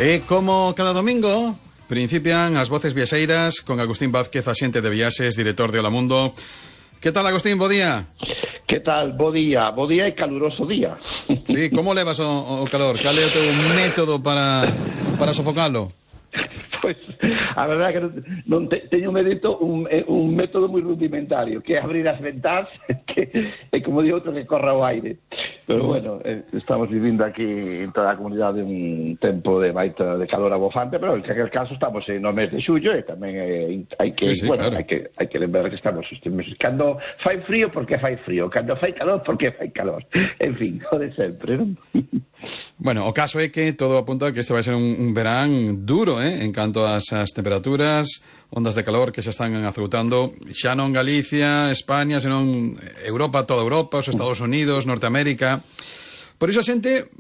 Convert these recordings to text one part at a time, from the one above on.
E como cada domingo, principian as voces viaxeiras con Agustín Vázquez, axente de viaxes, director de Hola Mundo. Que tal, Agustín? Bo día. Que tal? Bo día e caluroso día. Sí, como levas o calor? Cal é o teu método para sofocalo? Pois, a verdade é que non teño un método moi rudimentario, que é abrir as ventás, que é como digo outro, que corra o aire. Pero bueno, estamos vivindo aquí en toda a comunidade un tempo de baita de calor abofante, pero en aquel caso estamos no mes de xullo e tamén hai que, sí, bueno, claro. hai que lembrar que estamos cando fai frío porque fai frío, cando fai calor porque fai calor. En fin, o de sempre, non? Bueno, o caso é que todo apunta a que este vai ser un verán duro, en canto ás temperaturas, ondas de calor que xa están azoutando xa non Galicia, España, senón Europa, toda Europa, os Estados Unidos, Norteamérica. Por iso a xente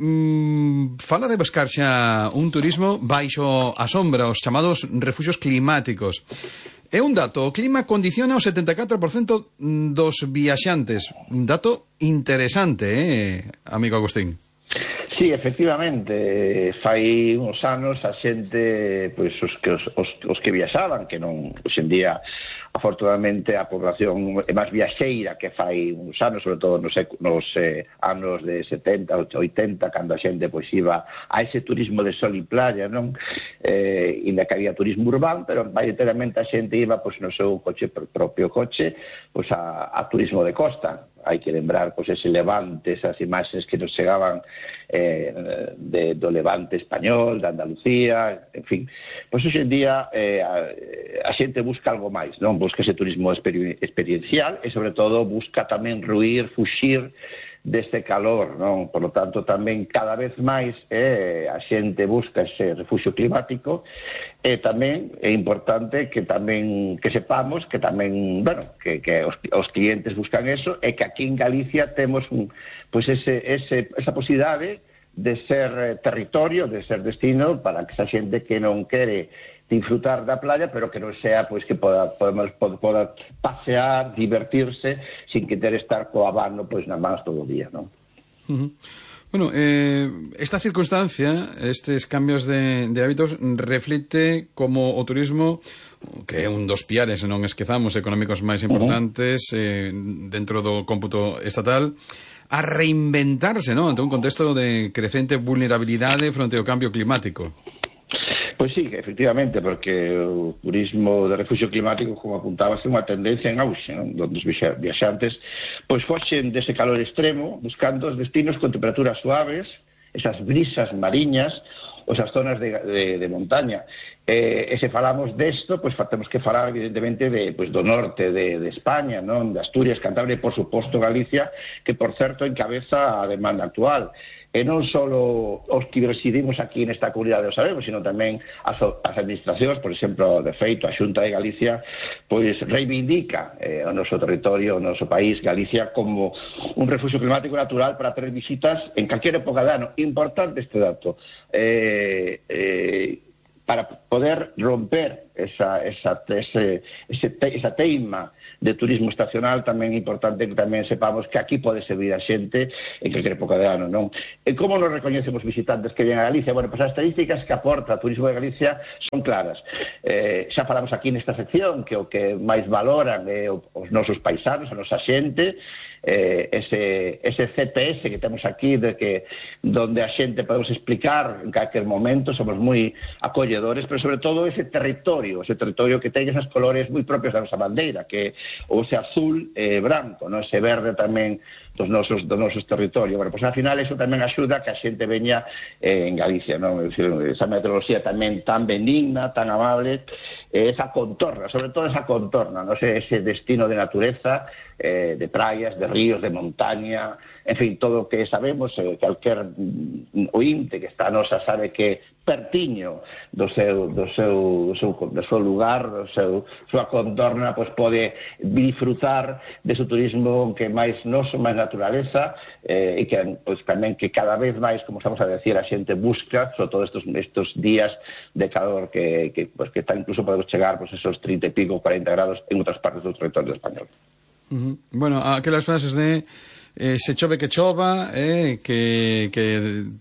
fala de buscar xa un turismo baixo a sombra, os chamados refuxios climáticos. É un dato, o clima condiciona o 74% dos viaxantes. Un dato interesante, amigo Agustín. Sí, efectivamente, fai uns anos a xente, pois os que viaxaban, que non, hoxe en día, afortunadamente, a población é máis viaxeira que fai uns anos, sobre todo nos anos de 70, 80, cando a xente pois iba a ese turismo de sol e playa, non? Ainda que había turismo urbano, pero maioritariamente a xente iba pois no seu propio coche, pois a turismo de costa. Hai que lembrar pois ese Levante, esas imaxes que nos chegaban do Levante español, de Andalucía, en fin. Pois hoxe en día a xente busca algo máis, non? Busca ese turismo experiencial e sobre todo busca tamén fuxir deste calor, non? Por lo tanto, tamén cada vez máis a xente busca ese refuxio climático e tamén é importante que sepamos que tamén, bueno, que os clientes buscan eso e que aquí en Galicia temos pois esa posibilidade de ser territorio, de ser destino para que esa xente que non quere disfrutar da playa, pero que non sea pois que poda pasear, divertirse, sin que ter estar co abano pois nas mans todo o día, non? Bueno, esta circunstancia, estes cambios de hábitos, reflite como o turismo, que é un dos piares, non esquezamos, económicos máis importantes dentro do cómputo estatal, a reinventarse, non? Ante un contexto de crecente vulnerabilidade fronte ao cambio climático. Pois sí, efectivamente, porque o turismo de refuxio climático, como apuntabas, é unha tendencia en auxe, non? Donde os viaxantes pois foxen dese calor extremo, buscando os destinos con temperaturas suaves, esas brisas mariñas, ou esas zonas de montaña. E se falamos desto, pois temos que falar evidentemente do norte de España, non? De Asturias, Cantabria e, por suposto, Galicia, que, por certo, encabeza a demanda actual. E non só os que residimos aquí nesta comunidade o sabemos, sino tamén as administracións, por exemplo, de feito, a Xunta de Galicia, pois reivindica o noso territorio, o noso país, Galicia, como un refuxio climático natural para ter visitas en calquera época de ano. Importante este dato. Para poder romper esa teima de turismo estacional, tamén é importante que tamén sepamos que aquí pode servir a xente en calquera época de ano, non? E como nos recoñecen os visitantes que ven a Galicia? Bueno, pois as estadísticas que aporta o turismo de Galicia son claras. Xa falamos aquí nesta sección que o que máis valoran é os nosos paisanos, a nosa xente, ese CPS que temos aquí donde a xente podemos explicar en calquer momento, somos moi acolledores, pero sobre todo ese territorio que ten esas colores moi propios da nosa bandeira, que o ese azul e branco, non? Ese verde tamén dos nosos territorios. Bueno, pois, ao final, eso tamén axuda a que a xente veña en Galicia, non? Esa meteoroloxía tamén tan benigna, tan amable, esa contorna, sobre todo esa contorna, non? Ese destino de natureza, de praias, de ríos, de montaña, en fin, todo o que sabemos, calquer ointe que está a nosa sabe que pertiño do seu lugar, súa contorna, pois pode disfrutar de seu turismo que máis noso, máis naturaleza, e que pois tamén que cada vez máis, como estamos a decir, a xente busca, sobre todo estos días de calor que está, incluso podemos chegar pois esos 30 e pico, 40 grados en outras partes do territorio español. Bueno, aquelas frases de se chove que chova, que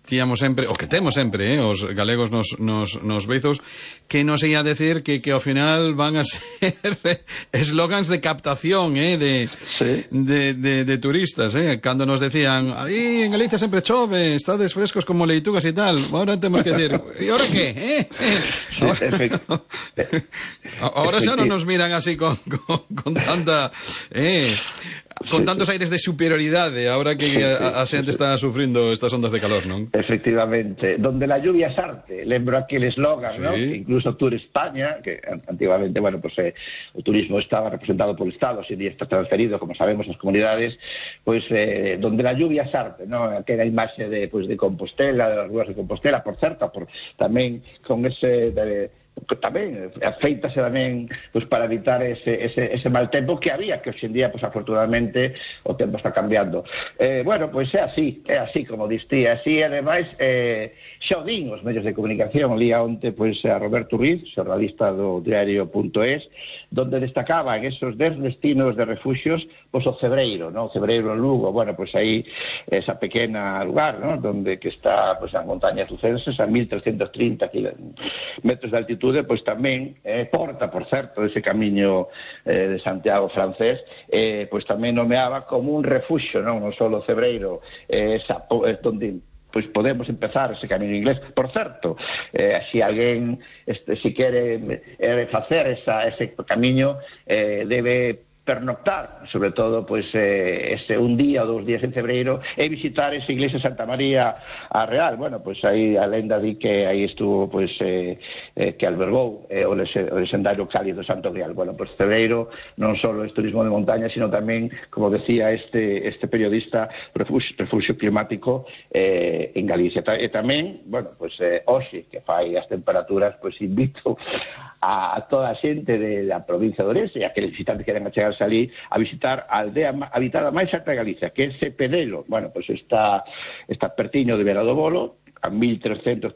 tíamos sempre, o que temos sempre, os galegos nos beizos, que non sei a decir que ao final van a ser eslogans de captación, de turistas, cando nos decían, aí en Galicia sempre chove, estades frescos como leitugas e tal, ahora temos que decir, e ahora que? Ahora xa non nos miran así con tanta... con tantos aires de superioridade, ahora que a xente está sufrindo estas ondas de calor, non? Efectivamente. Donde la lluvia es arte. Lembro aquel eslogan, sí, ¿no? Que incluso Tour España, que antiguamente, bueno, pues o turismo estaba representado por el Estado, hoy en día está transferido, como sabemos, ás comunidades, pues donde la lluvia es arte, ¿no? Aquela imaxe de Compostela, de las ruas de Compostela, por certo, tamén con ese... tamén afeítase tamén pues, para evitar ese mal tempo que había, que hoxe en día pues, afortunadamente o tempo está cambiando. Bueno, pois é así como distí, así ademais xa o din os medios de comunicación. Lía onte pues, a Roberto Ruiz, xornalista do diario.es, donde destacaba en esos 10 destinos de refugios pues, o Cebreiro, ¿no? O Cebreiro en Lugo, bueno, pues aí esa pequena lugar, ¿no? Donde que está pues, as montañas lucenses a 1330 metros de altitud, pois tamén porta, por certo, ese camiño de Santiago francés, pois tamén nomeaba como un refuxio, non só o Cebreiro, donde pois podemos empezar ese camiño inglés. Por certo, se alguén se quere facer ese camiño, debe pernoctar, sobre todo pues un día ou 2 días en Cebreiro, e visitar esa iglesia de Santa María a Real. Bueno, pues aí a lenda di que aí estuvo pues que albergou o legendario cáliz do Santo Grial. Bueno, pues Cebreiro non só é turismo de montaña, sino tamén, como decía este periodista, refugio climático en Galicia. E tamén, bueno, pues hoxe que fai as temperaturas, pues invito a toda a xente da provincia de Ourense e a que os visitantes queren achegarse ali a visitar a aldea habitada máis alta de Galicia, que é Cepedelo. Bueno, pues está pertiño de Vera do Bolo, a 1341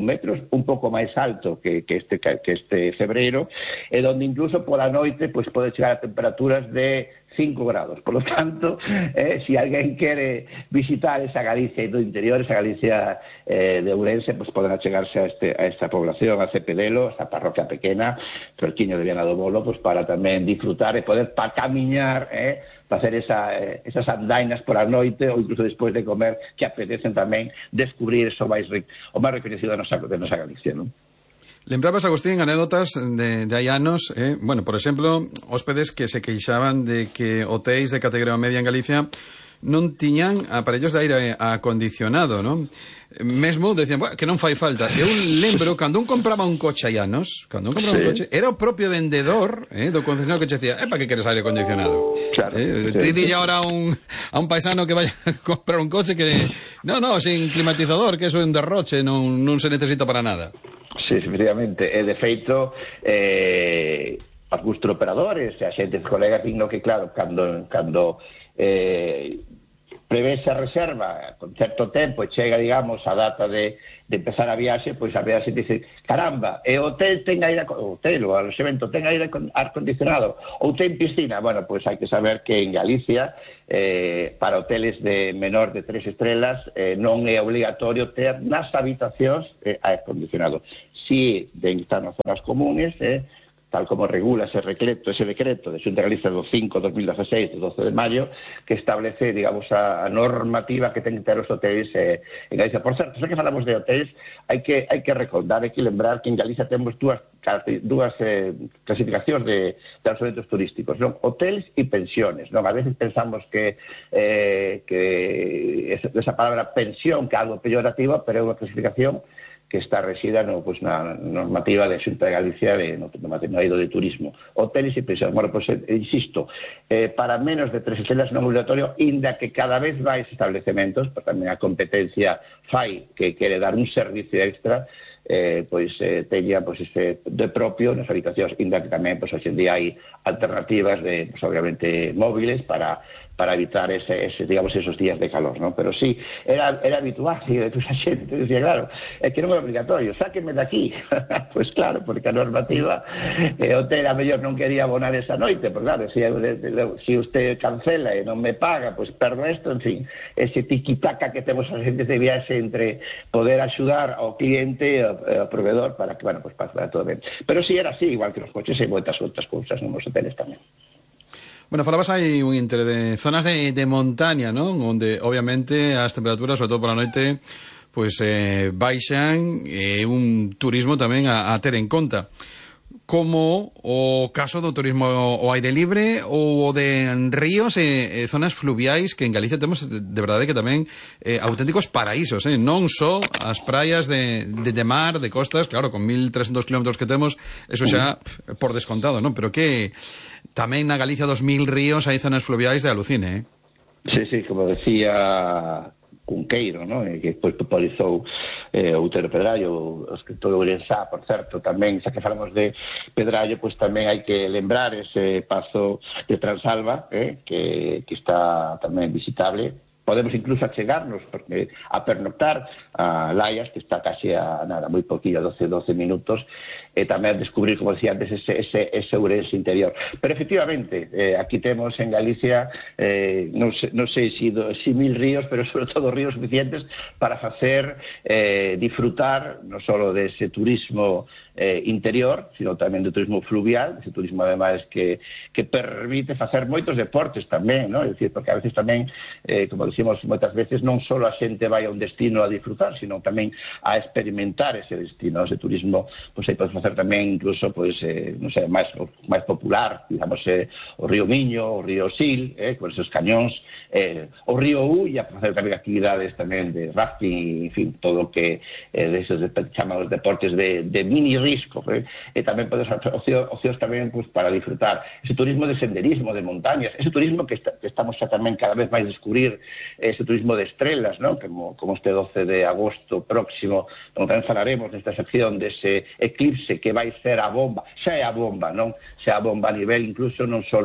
metros, un pouco máis alto que este Cebreiro, e donde incluso pola noite pues, pode chegar a temperaturas de 5 grados. Por lo tanto, si alguén quere visitar esa Galicia do interior, esa Galicia de Ourense, pues poden achegarse a esta población, a Cepedelo, esta parroquia pequena, perquiño de Viana do Bolo, pues para tamén disfrutar e poder camiñar, facer esas andainas por a noite ou incluso despois de comer, que apetecen tamén descubrir o máis recoñecido da nosa Galicia, non? Lembrabas, Agustín, anécdotas de hai anos, bueno, por exemplo, hóspedes que se queixaban de que hotéis de categoría media en Galicia non tiñan aparellos de aire acondicionado, non? Mesmo decían, que non fai falta. Eu lembro, cando un compraba un coche hai anos, un coche, era o propio vendedor do concesionario que che decía, para que queres aire acondicionado? Claro, te dille ahora a un paisano que vaya a comprar un coche que, no, sin climatizador, que eso é un derroche, non se necesita para nada. Sí, efectivamente, e de feito algúns operadores e a xente, colegas, digno que claro, cando prevese a reserva con certo tempo e chega, digamos, a data de empezar a viaxe, pois a viaxe dice, caramba, e o hotel ten aire, o alojamento ten aire acondicionado ou ten piscina. Bueno, pois hai que saber que en Galicia para hoteles de menor de 3 estrelas non é obligatorio ter nas habitacións aire acondicionado. Si están nas zonas comunes, tal como regula ese decreto de Xunta de Galicia do 5/2016, do 12 de maio, que establece, digamos, a normativa que ten que ter os hotéis en Galicia. Por certo, xa que falamos de hotéis, hai que recordar, hai que lembrar que en Galicia temos dúas clasificacións de alojamentos turísticos, non? Hoteles e pensiones, non? A veces pensamos que esa palabra pensión que é algo peyorativo, pero é unha clasificación que está resida na normativa de Xunta de Galicia no eido de turismo. Hoteles e pensións. Bueno, pues, insisto, para menos de 3 estrelas non é obligatorio, inda que cada vez máis establecementos, porque tamén a competencia fai que quere dar un servicio extra, teña de propio nas habitacións, inda que tamén hoxe en día hai alternativas de, obviamente, móviles para para evitar digamos, esos días de calor, ¿no? Pero sí, era habitual, e a xente decía, claro, é que non é obligatorio, sáquenme de aquí. Pois claro, porque a normativa o hotel a mellor non quería abonar esa noite, porque claro, se usted cancela e non me paga, pois perdo isto, en fin, ese tiquitaca que temos as xentes de viaxe entre poder axudar ao cliente e ao proveedor para que, bueno, pues para todo ben. Pero si era así, igual que nos coches e moitas outras cousas nos hoteles tamén. Bueno, falabas aí un inter de zonas de montaña, ¿no? Onde obviamente as temperaturas, sobre todo pola noite, pois baixan, un turismo tamén a ter en conta, como o caso do turismo ao aire libre ou o de ríos e zonas fluviais, que en Galicia temos de verdade que tamén auténticos paraísos, non só as praias de mar, de costas, claro, con 1.300 kilómetros que temos, eso xa por descontado, non? Pero que tamén na Galicia 2.000 ríos hai zonas fluviais de alucine, Sí, como decía Cunqueiro, ¿no? Que depois popularizou Outero Pedrallo, o escritor Ourensá, por certo, tamén, xa que falamos de Pedrallo, pois tamén hai que lembrar ese pazo de Transalva, que está tamén visitable. Podemos incluso achegarnos porque a pernoctar a Laias, que está casi a nada, moi poquillo, 12 minutos, e tamén descubrir, como decía antes, ese Ourense interior. Pero efectivamente, aquí temos en Galicia, non sei se 1.000 ríos, pero sobre todo ríos suficientes para facer disfrutar non só dese turismo interior, sino tamén do turismo fluvial, ese turismo ademais que permite facer moitos deportes tamén, ¿no? É dicir, porque a veces tamén, como dicimos moitas veces, non só a xente vai a un destino a disfrutar, sino tamén a experimentar ese destino, ese turismo, pois aí podes facer tamén incluso, pois, non sei, máis popular, digamos, o río Miño, o río Sil, con esos cañóns, o río Ulla, para facer tamén actividades tamén de rafting, en fin, todo o que deses chaman os deportes de mini risco, e tamén podes facer ocios tamén, pois, para disfrutar ese turismo de senderismo, de montañas, ese turismo que estamos xa tamén cada vez máis descubrir, ese turismo de estrelas, ¿no? Como este 12 de agosto próximo, onde tamén falaremos nesta sección dese eclipse que vai ser a bomba, xa é a bomba, non? Xa a bomba a nivel incluso non só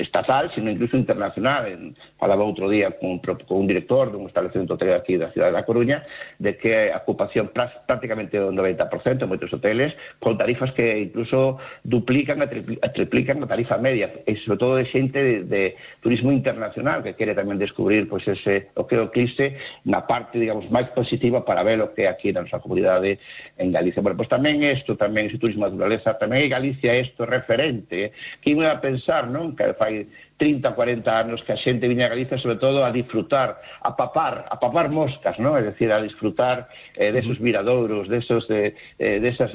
estatal, sino incluso internacional. Falaba outro día con un director dun establecemento hotelero aquí da cidade da Coruña, de que a ocupación prácticamente o 90% en moitos hoteles, con tarifas que incluso duplican a triplican a tarifa media, e sobre todo de xente de turismo internacional que quere tamén descubrir, pois, o que é o eclipse na parte, digamos, máis positiva para ver o que é aquí na nosa comunidade en Galicia. Bueno, pois tamén isto, tamén ese turismo de naturaleza, tamén é Galicia isto referente, que iba a pensar, non? Que fai 30, 40 anos que a xente viña a Galicia sobre todo a disfrutar, a papar moscas, ¿no? Es decir, a disfrutar desos miradouros, desas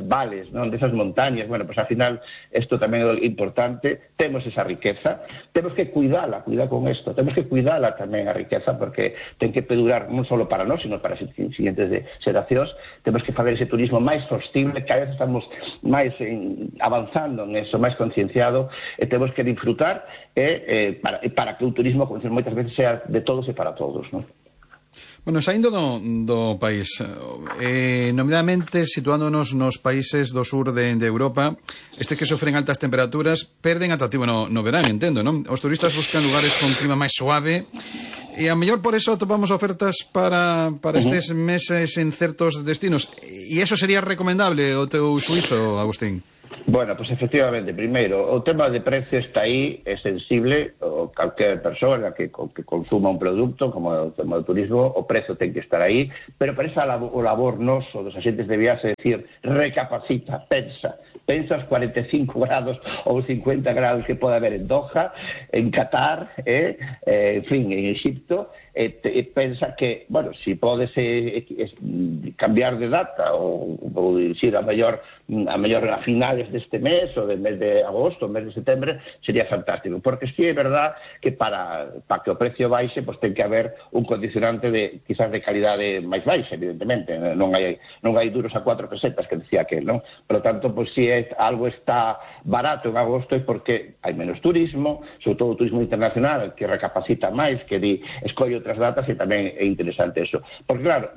vales, ¿no? Desas montañas. Bueno, pues al final isto tamén é importante, temos esa riqueza, temos que cuidar con isto, temos que cuidala tamén a riqueza, porque ten que perdurar non só para nós, sino para as siguientes xeracións. Temos que fazer ese turismo máis sostible, cada vez estamos máis avanzando en eso, máis concienciado, e temos que disfrutar para que o turismo, como dicen moitas veces, sea de todos e para todos, non? Bueno, saindo do país, nomeadamente situándonos nos países do sur de Europa, estes que sofren altas temperaturas perden atractivo no verán, entendo, non? Os turistas buscan lugares con clima máis suave e a mellor por eso atopamos ofertas para estes meses en certos destinos. E iso sería recomendable o teu suizo, Agustín? Bueno, pues efectivamente, primeiro, o tema de precio está aí, é sensible, o calquer persona que consuma un produto, como o tema do turismo, o precio ten que estar aí, pero para esa o labor noso dos axentes de viaxe, é dicir, recapacita, pensa os 45 grados ou 50 grados que pode haber en Doha, en Qatar, en fin, en Egipto, e pensa que, bueno, si podes cambiar de data ou ir a mellor a finales deste mes ou del mes de agosto, mes de setembro, sería fantástico, porque sí é verdad que para que o precio baixe, pues ten que haber un condicionante quizás de calidade máis baixa, evidentemente, non hai duros a 4 pesetas que decía aquel, non? Por lo tanto, pues si algo está barato en agosto é porque hai menos turismo, sobre todo o turismo internacional, que recapacita máis, que escolle outras datas, e tamén é interesante eso. Porque claro,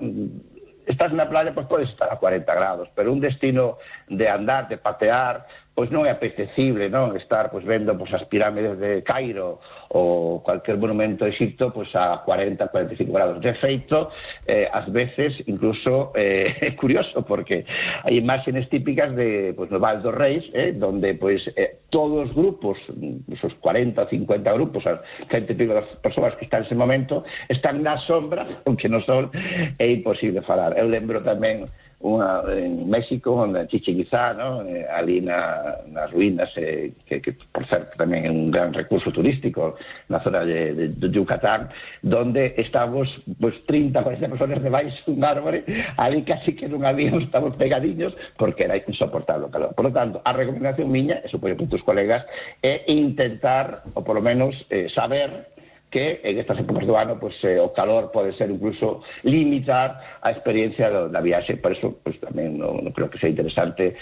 estás na playa, pues podes estar a 40 grados, pero un destino de andar, de patear, pois non é apetecible, non, estar pois vendo pois as pirámides de Cairo ou cualquier monumento de Egipto pois a 40-45 grados. De feito, ás veces incluso é curioso porque hai imágenes típicas de pois no Val dos Reis, donde pois todos os grupos, os 40 ou 50 grupos, as 100 e pico das persoas que están nese momento, están na sombra, aunque no sol é imposible falar. Eu lembro tamén en México, onde Chichén Itzá, ¿no? Ali nas ruínas, que por certo tamén é un gran recurso turístico na zona de Yucatán, donde estamos pues 30, 40 personas debaixo dun árbore, ali casi que non habíamos, estamos pegadiños porque era insoportable o calor. Por lo tanto, a recomendación miña, e supoño que tus colegas, é intentar, ou polo menos saber que en estas épocas do ano pues, o calor pode ser incluso limitar a experiencia da viaxe. Por eso pues, tamén non creo que sea interesante,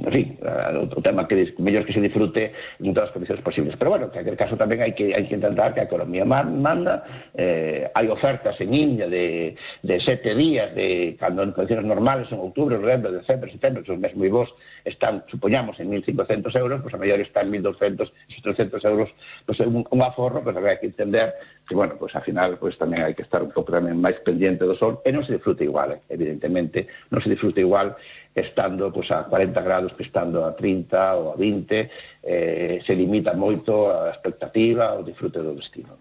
en fin, o tema que mellor que se disfrute en todas as condicións posibles. Pero bueno, en aquel caso tamén hai que intentar que a economía manda. Hai ofertas en India de 7 días, cando en condicións normales, en outubro, novembro, decembro, setembro, que os meses moi bons están, supoñamos, en 1.500 euros, pues a mellor están en 1.200, esos 300 euros, pues un aforro, pues hai que entender que, bueno, pues al final pues tamén hai que estar un pouco tamén máis pendiente do sol, e non se disfruta igual, evidentemente, non se disfruta igual estando pues a 40 grados que estando a 30 ou a 20, se limita moito a expectativa, o disfrute do destino.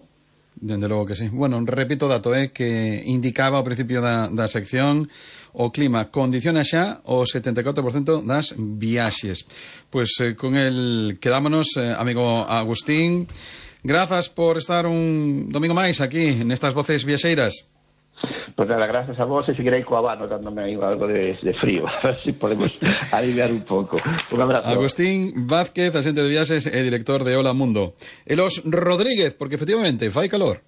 Dende logo que sí. Bueno, repito o dato, que indicaba ao principio da sección, o clima condiciona xa o 74% das viaxes. Pois con el quedámonos, amigo Agustín. Grazas por estar un domingo máis aquí nestas voces viaxeiras. Pues nada, gracias a vos, e seguirei coa Habano dándome aí algo de frío, a ver se podemos aliviar un pouco. Un abrazo. Agustín Vázquez, axente de viaxes e director de Hola Mundo. E los Rodríguez, porque efectivamente fai calor.